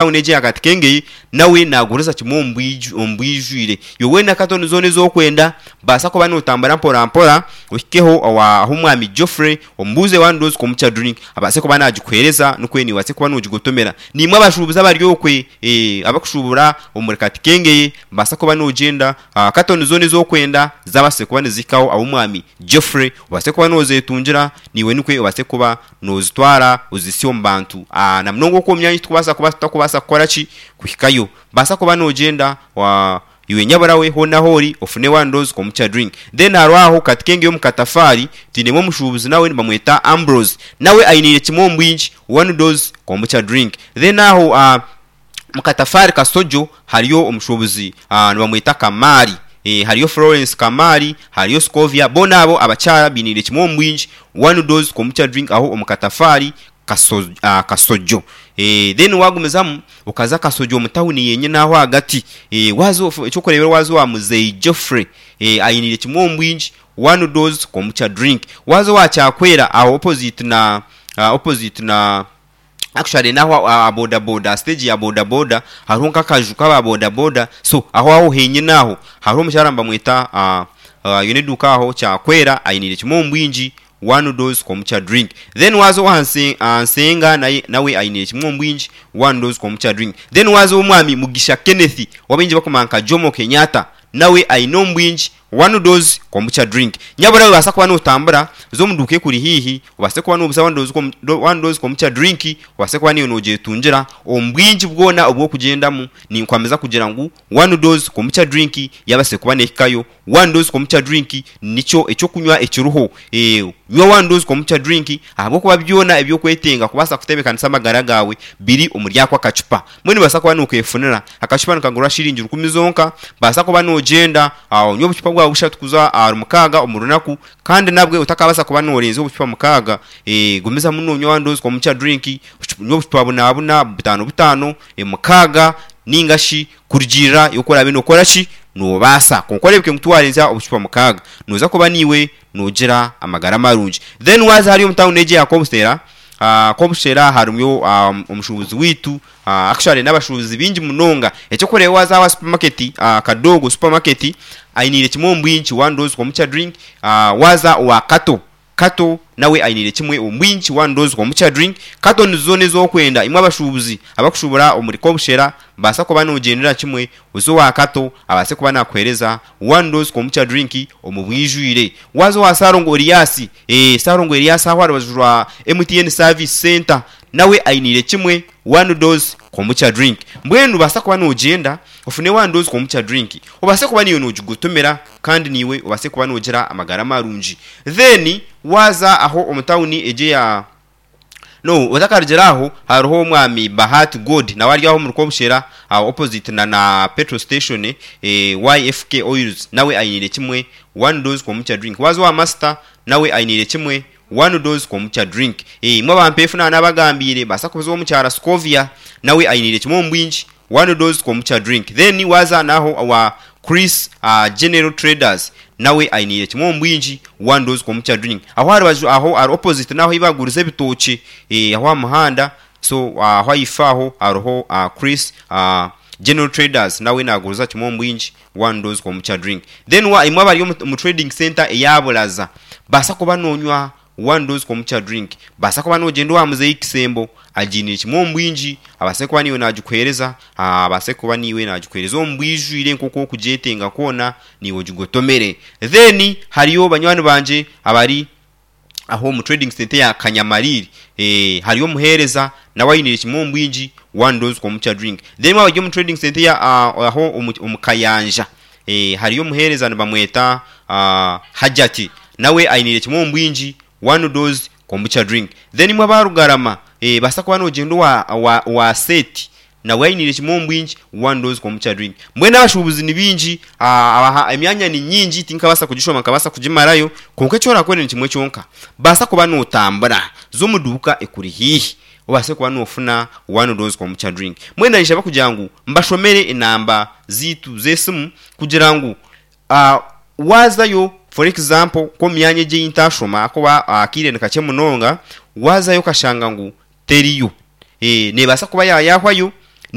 Tawuni egi eya Katikengei nawe naaguriza kimwe omu bwijwire. Iwe weena katoni zoona ezi orikwenda, baasa kuba nootambura mporampora ohikeho ah'omwami Geoffrey omubuuze one dose kombucha drink abaase kuba naagikuheereza nikwo naiwe obaase kuba noogigotomera. Naimwe abashuubuzi abari okwe abarikushubura omuri Katikengei baasa kuba noogyenda katoni zoona ezi orikwenda zaabaasa kuba nizihikaho ah'omwami Geoffrey obaase kuba noozetungira naiwe nikwo obaase kuba Noozitwara ozihitsye omu bantu. Na munonga okwo omu myanya ei turikubaasa kuba tutakubaasa kukora ki? Kuhikayo. Baasa kuba noogyenda, iwe nyabura we hoona ahu ori ofune one dose kombucha drink. Then hariho aho Katikenge omu Katafaari twinemu omushuubuzi nawe nibamweta Ambrose. Nawe ainiire kimwe omu bwingi one dose kombucha drink. Then aho Omu katafaari Kasojo hariyo omushuubuzi nibamweta Kamaari. Hariyo Florence Kamaari, hariyo Scovia, boona abo abakyara bainiire kimwe omu bwingi one dose kombucha drink aho omu katafaari Kasojo. Then wagumizamu okaza Kasojo omu tawuni yenyine aho ahagati, waaza eky'okureeberaho waaza owa Muzeeyi Geoffrey ainiire kimwe omu bwingi one dose kombucha drink. Waaza owa Kyakwera aho opposite na opposite na Actually naho aha boda boda aha stage ya boda boda hariho nk'akaju k'aba boda boda so aho aho henyine aho hariho omukyara nibamweta aine eduuka aho Kyakwera ainiire kimwe omu bwingi one dose kombucha drink. Then waaza owa Nsenga nawe ainiire kimwe omu bwingi one dose kombucha drink. Then waaza ow'omwami Mugisha Kenneth ou abaingi barikumanya nka Jomo Kenyatta nawe aine omu bwingi One dose kombucha drink. Nyabura obaasa kuba notambura, za omu duuka ekuri haihi obaase kuba noguza one dose kombucha drink obaase kuba naiwe nogyetungira omu bwingi bwona obu orikugyendamu. Ninkwamiza kugira ngu one dose kombucha drink yabaasire kuba nehikayo. One dose kombucha drink nikyo ekyokunywa ekiriho. Nywa one dose kombucha drink ahabw'okuba byona ebi orikwetenga kubaasa kutebeekanisa amagara gaawe biri omuri ako akacupa. Mbwenu nobaasa kuba nokefunira. Akacupa nikagurwa shiringi rukumi zonka. Baasa kuba nogyenda onywe obucupa bwawe bushatu kuza ahari mukaaga omu runaku kandi nabwe otakabaasa kuba norenza obucupa mukaaga. Gumizamu nonywa one dose kombucha drink, nywa obucupa buna buna, butaano butaano, mukaaga ninga shi kurugiirira oku oraabe nokora ki, nobaasa. Kwonka oreebeke ngu tiwarenzya obucupa mukaaga, noza kuba naiwe nogira amagara marungi. Then waaza hariya omu tawuni egi eya Kobuseera, Kobuseera harimu omushuubuzi waitu, actually n'abashuubuzi baingi munonga. Eky'okureeba waaza aha supermarket, Kadogo supermarket, ainiire kimwe omu bwingi one dose kombucha drink, waaza owa Kato, Kato nawe ainiire kimwe omu bwingi one dose kombucha drink. Kato nizo zoona ezi orikwenda. Imwe abashuubuzi abakushuubura omuri Kobushera, baasa kuba noogyendera kimwe oze owa Kato abaase kuba naakuheereza one dose kombucha drink omu bwijwire. Waaza owa Ssalongo Erias, eeh Ssalongo Erias aho aha rubaju rwa MTN Service Centre nawe ainiire kimwe one dose kombucha drink. Mbwenu nobaasa kuba noogyenda ofune one dose kombucha drink obaase kuba naiwe noogigotomera kandi naiwe obaase kuba noogira amagara marungi. Then waaza aho omu tawuni egi eya. No otakarugire aho hariho omwami Bahati God nawe ari aho omuri Kobushera aho opposite na na petrol station YFK oils nawe ainiire kimwe one dose kombucha drink. Waaza owa Master nawe ainiire kimwe one dose kombucha drink. Imwe abampeefu naaba nabagambiire baasa kubuza ow'omukyara Scovia nawe ainiire kimwe omu bwingi One dose kombucha drink. Then waaza naho owa Chris General Traders nawe ainiire kimwe omu bwingi one dose kombucha drink. Aho aha rubaju aho ahari opposite naho ahu barikuguriza ebitookye aho aha muhanda so aho ahaifo aho hariho Chris General Traders nawe naguriza kimwe omu bwingi one dose kombucha drink. Then imwe abari omu trading centre eya Buraza baasa kuba nonywa One dose kombucha drink. Baasa kuba nogyenda owa muzeeyi Kisembo agiinire kimwe omu bwingi abaase kuba niiwe naagikuheereza, abaase kuba niiwe naagikuheereza omu bwijwire nk'oku orikugyetenga kwona niiwe ogigotomere. Then hariyo banywani bangye abari aho omu trading centre eya Kanyamariiri, hariyo omuheereza nawe ainiire kimwe omu bwingi one dose kombucha drink. Then waaba ori omu trading centre eya aho omu Kayanja, Hariyo omuheereza nibamweta Hajati nawe ainiire kimwe omu bwingi one dose kombucha drink. Then imwe aba Rugarama baasa kuba nogyenda owa owa Seti nawe ainiire kimwe omu bwingi one dose kombucha drink. Mbwenu abashuubuzi ni baingi emyanya ni nyingi tinkabaasa kugishoma nkabaasa kugimarayo kwonka eki orakore ni kimwe kyonka baasa kuba notambura za omu duuka ekuri haihi obaase kuba noofuna one dose kombucha drink. Mbwenu nainshaba kugira ngu mbashomere enamba zaitu z'esimu kugira ngu waazayo for example nk'omu myanya egi ei ntaashoma ahakuba akaire ni kakye munonga, waazayo okashanga ngu teriyo, neebaasa kuba yaayahwayo.